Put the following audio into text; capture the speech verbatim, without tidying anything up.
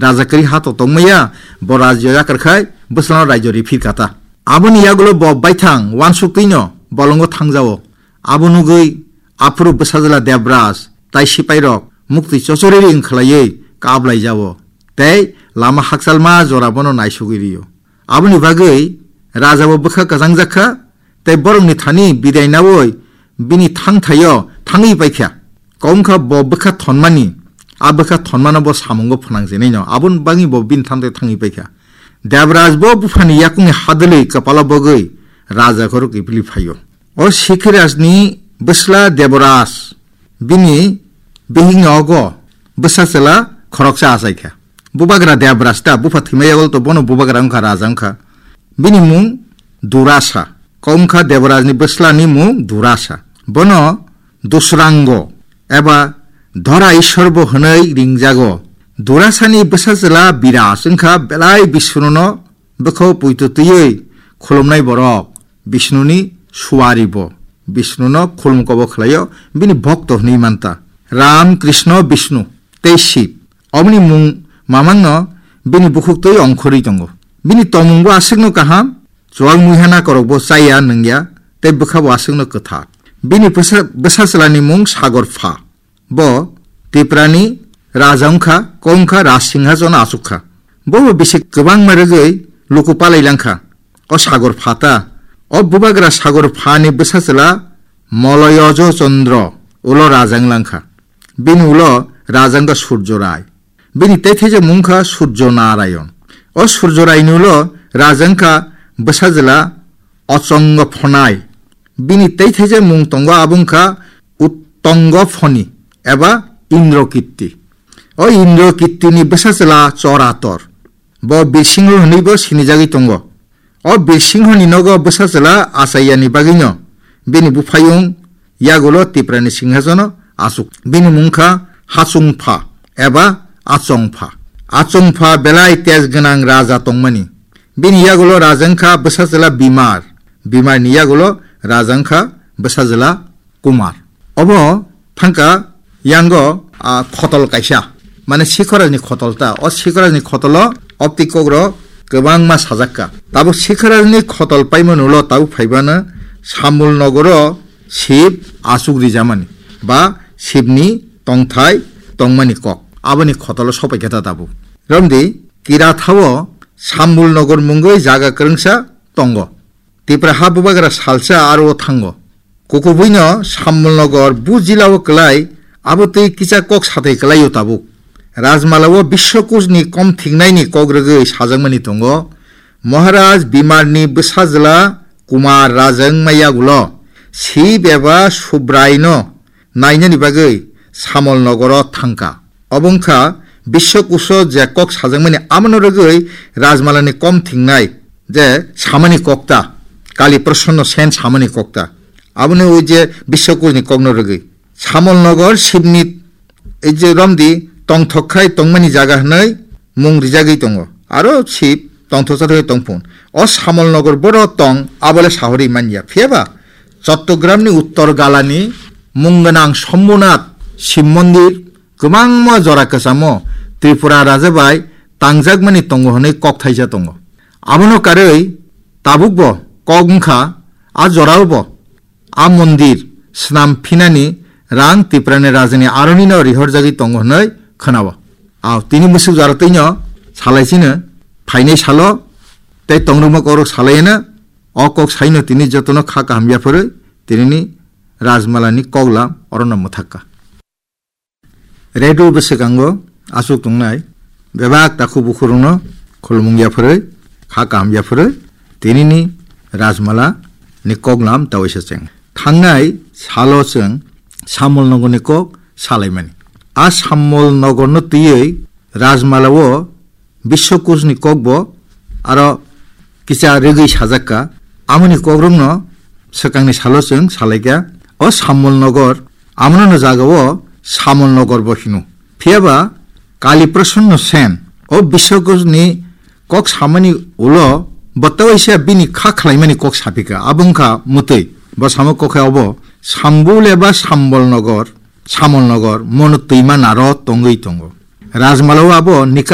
Rajakari ha to tongmaya, bo rajyo yakar khai bwsano rajyo ri phir kata. Aboni yagulo bo baithang wansuk twino bolongo thangjao. Abo nugwi aphuru bwsajwla Debraj tai sipairok muktwi chochori ring khlaiwi kablai jao. Tei lama hakchalma jora bono naisugwi rio. Aboni bagwi raja bo bwkha kwchang jakha, tei borokni thani bidai naui bini thangthaio thangwi paikha. Kok wngkha bo bwkha thonmani, a bwkha thonmano bo samungo phnangjenaino, aboni bagwi bo bini thangthaio thangwi paikha. Debraj bo buphani yakungni hadwlwi kwpalo bogwi raja khoro kiphilwi phaio. O Sikhirajni bwsla Debraj, bini bihikni ogo bwsa chwla khoroksa achaikha. Bubagra Debraj ta, bupha thwimai yago to bono bubagra wngkha, raja wngkha. Bini mung Durasa. Kok wngkha Debrajni bwslani mung Durasa. Bono Dusrango eba Dhora Ishwar bo hwnwi ringjago. Durasani bwsa chwla Biraj wngkha belai Bishnuno bwkhao poito twiwi khulumnai borok. Bishnuni suari bo. Bishnuno khulum kobo khlaio, bini bhokto hwnwi manta. Ram, Krishna, Bishnu tei Shiv. Oboni mung mamangno bini bukhuk twi ongkhorwi tongo. Bini tongmung bo aswkno kaham, chuwak muiha nakorok bo chaya nungya, tei bwkha bo aswkno kwthar. Bini bwsa-, bwsa chwlani mung Sagor Pha. Bo Tiprani raja wngkha, kok wngkha Raj Singhasono achukha. Bo bo bisi kwbangma rwgwi luku palai langkha. O Sagor Pha ta. O bubagra Sagor Phani bwsa chwla Moloyojo Chandra ulo raja wng langkha. Bini ulo raja wngkha Surjo Rai. Bini teithai je mung kha Surjo Narayon. O Surjo Raini ulo raja wngkha bwsa chwla Ochongo Phonai. Bini teithai je mung tongo, abo wngkha Uttongo Phoni eba Indro Kirti. O Indro Kirtini bwsa chwla Chorator. Bo Birsingho hwnwibo sinijagwi tongo. O Birsinghoni nogo bwsa chwla achaiyani bagwino bini buphayung yagulo Tiprani singhasono achuk. Bini mung kha Hachungpha eba Achongpha. Achongpha belai tej gwnang raja tongmani. Bini yagulo raja wngkha bwsa chwla Bimar. Bimarni yagulo raja wngkha bwsa chwla Kumar. Obo thangka yango, a, khotol kaisa, mane Sikhorajni khotol ta. O Sikhorajni khotolo opti kokro kwbangma sajakka. Tabuk Sikhorajni khotol paimani ulo tabuk phaibano Samul nogoro Sib achuk rijamani ba Sibni tongthai tongmani kok. Aboni khotolo sopaikha ta tabuk. Romdi Kirathao Samul nogor mungwi jaga kwrwngsa tongo. Tipra ha bubagra salsa aro o thango. Kukubuino Sambolnogor bu jilao kwlai, abo twi kisa kok sathai kwlaio tabuk. Rajmalao Biswakusni kom thiknaini kok rwgwi sajakmani tongo, Maharaj Bimarni bwsajwla Kumar rajwng maya ulo Sib eba Subraino nainani bagwi Samol nogoro thangkha. Obo wngkha Biswakuso je kok sajakmani, amono rwgwi Rajmalani kom thingnai je samani kokta, Kali Prasanno Sen samani kokta. Aboni ui je Biswakusni kokno rwgwi Samol nogor Sibni ei je romdi tongthok khai tongmani jaga hwnwi mung rijagwi tongo. Aro Sib tongthoksa thwi tongphun. O Samol nogor boro tong abole sahori manya. Phiyaba Chottogramni uttor galani mung gwnang Sombhonath Shiv Mondir kwbangma jora kwchamo Tripura raja bai tangjakmani tongo hwnwi kok thaisa tongo. Abono karwi tabukbo kok wngkha a jorao bo a mondir swnam phinani rang Tiprani rajani aronino rihorjagwi tongo hwnwi khwnao. Ao tini mwsuk jora twino salai chino phainai salo tei tongrwngma kokrok salaiyano. O kok saino tini jotono kha kaham yapharwi tinini Rajmalani koklam orono mwthakka. Redu bwswkango achuk tongnai bebak takhuk bukhurokno khulumung yapharwi kha kaham yapharwi tinini Rajmala ni koklam tawaisa cheng. Thangnai salo chwng Samol nogorni kok salaimani. A Samol nogorno twiwi Rajmalao Biswakusni kokbo aro kisa rwgwi sajakka. Amoni kokrokno swkangni salo chwng salaikha. O Samol nogor amono no jagao Samol nogor bo hino. Phiyaba Kali Prasanno Sen o Biswakusni kok samani ulo bo tawaisa bini kha khlaimani kok saphika. Abo wngkha mwtwi. Bo samo kok khe obo Sambul eba Sambol nogor, Samol nogor, mono twima naro tongwi tongo. Rajmalao abo ni